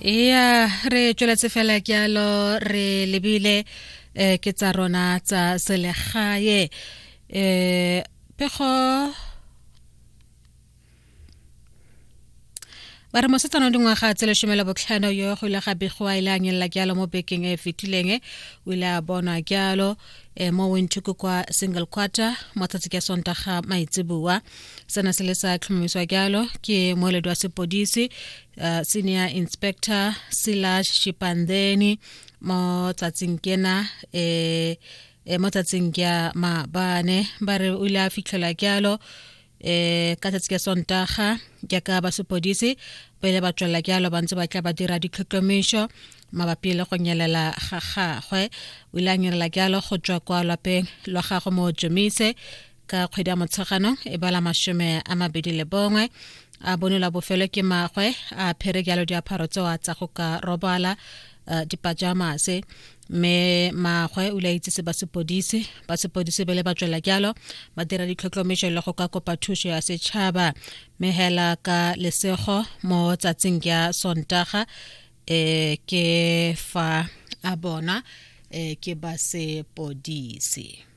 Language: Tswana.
Ya, re tsweletse fela jalo, re lebile ke tsa rona tsa selegae. Pego ba re mosetsana wa dingwaga tse 15 yo go ile ga begiwa ile a nyelela jalo mo bekeng e e fetileng, o ile a bonwa jalo mo Windhoek kwa Single Quarter mo tsatsi ka Sontaga maitseboa. Sena se le sa tlhomamiswa jalo ke moeledi wa sepodisi, Senior Inspector Silas Shipandeni, mo tsatsing kena mo tsatsing ya maabane. Ba re o ile a fitlhelwa jalo ka tsatsi ka Sontaga, jaaka ba sepodisi ba ile ba tswelela jalo ba ntse ba tla ba dira ditlhotlhomišo mabapi le go nyelela ga gagwe. O ile a nyelela jalo go tswa kwa lwapeng lwa gagwe mo Jomise ka kgwedi ya Motsheganong e bala 21, a bonelwa bofelo ke magwe a phere jalo diaparo tseo a tsa go ka robala, dipajamase, mme magwe o ile a itsise ba sepodisi. Ba sepodisi bele ba tswela jalo ba dira ditlhotlhomišo le go ka kopa thuso ya setšhaba, mme hela ka lesego mo tsatsing ya Sontaga ke fa a bona ke ba sepodisi.